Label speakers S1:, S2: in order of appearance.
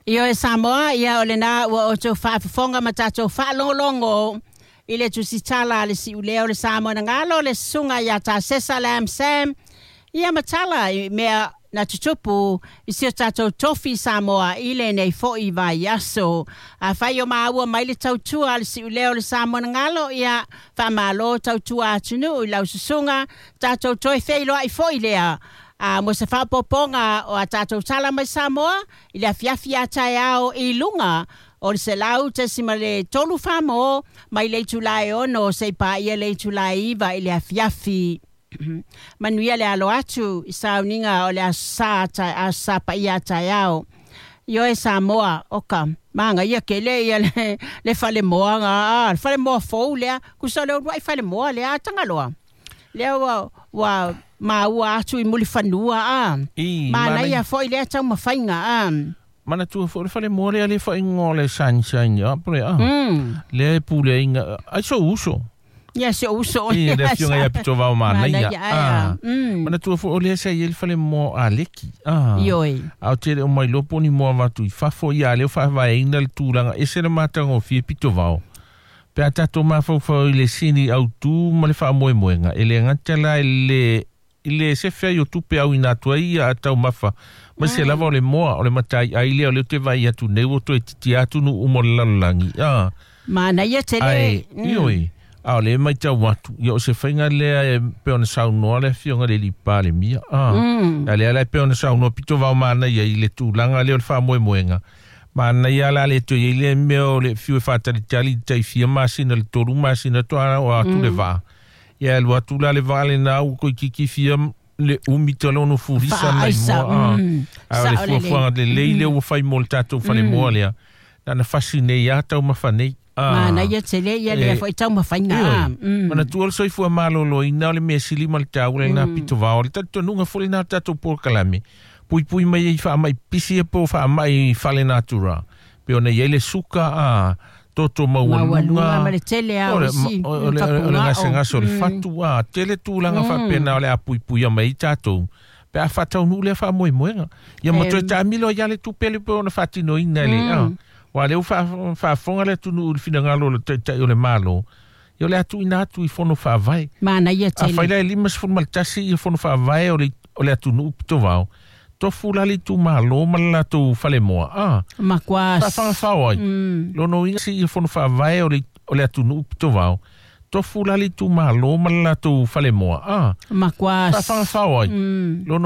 S1: Ioe Samoa, ia o lena ua outou faafofoga ma tatou faalogologo i le tusitala a le siulea o le Samoa na galo le susuga ia Tasesa Lam Sam, ia ma tala i mea na tutupu i si o tatou tofi Samoa i lenei fo'i vaiaso. Afai o maua mai le tautua a le siulea o le Samoa na galo, ia faamalo tautua atunuu i lau susuga, tatou toe feiloai fo'i lea. A mo se faaopoopoga o a tatou tala mai Samoa i le afiafi a taeao i luga o le 100.3 Famo mai le itula e 6 seia paia le itula e 9 i le afiafi. Manuia le alo atu i sauniga o le aso Sa paia a taeao. Ioe Samoa, oka, magaia tele ia le falemoa ga, le falemoa fou lea, kusa o le uluai falemoa lea a Tagaloa. Lea ua maua atu i Mulifanua a.
S2: I,
S1: Manaia fo'i lea taumafaiga a.
S2: Manatua foi le falemoa lea le faaigoa o le Sunshine a po le a. Lea e puleaina ai sou uso.
S1: Ia si ou uso.
S2: I le afioga ia Pitovao Manaia.
S1: Manaia, ai,
S2: A. Manatua foi o lea sa i ai le falemoa a Leki. A.
S1: Ioe.
S2: A o tele o mai loa po o ni moa avatu i fafo ia lea ua faavaeina le tulaga ese le matagofie Pitovao. Pe a tatou mafaufau i le sini autū ma le faamoemoega, e le gata la i le i le sefe ai o tupe auina atu ai ia a taumafa ma se lava o le moa o le mataiai lea o lea ou te vaai atu nei ua toe titia atu nuu uma o le lalolagi. A.
S1: Manaia tele.
S2: Ae, ioe, a o lea e matau atu, ia o se faiga lea e pei ona saunoa le afioga i le alii Palemia. A. A lea la e pei ona saunoa pito vao manaia i le tulaga lea o le faamoemoega. Manaia la le toe i ai le mea o le fiu e faatalitali i le tai fia masina i le 3 masina toa o atu le vaa. Ia e alu atu la le vaa lena ua toeitiiti fia le umi talono fulisa mai
S1: Faaisa.
S2: moa. A. A o le
S1: Sao lelei.
S2: fuafuaga lelei lea ua fai mo le tatou falemoa lea. Na na fasi nei a taumafa nei. A.
S1: Manaia tele ia lea
S2: E,
S1: fo'i taumafaiga
S2: Ioe.
S1: a.
S2: Manatua le soifua malōlōina o le mea sili ma le taua lena pito vao. Le talitonuga foi lena o le tatou polokalame. Puipui mai ai faamai pisi e po o faamai fale natura. Pe ona i ai le suka a toto
S1: Maualuga
S2: maualuga.
S1: ma le tele a
S2: O
S1: o
S2: le,
S1: isi
S2: o le, o le
S1: tapugao.
S2: gasegase o le fatu a tele tulaga faapena o le a puipuia mai ai tatou. Pe a faataunuu lea faamoemoega. Ia ma toe taamilo ai lava le tupe le pe ona faatinoina e le a. Ua lea ua faafofoga le atunuu i le finagalo o le taitai o le Malo. Ia o le a tuuina atu i fono faavae.
S1: Manaia
S2: A fai
S1: tele.
S2: la e 51 ia fono faavae o le atunuu pitovao. Tofu la le itumalo ma le latou falemoa. A.
S1: Makuā
S2: Faafagafao ai. Lono uiga si ia fono faavae o le atunuu pitovao. Tofu la le itumalo ma le latou falemoa. A.
S1: Makuā
S2: Faafagafao ai. Lono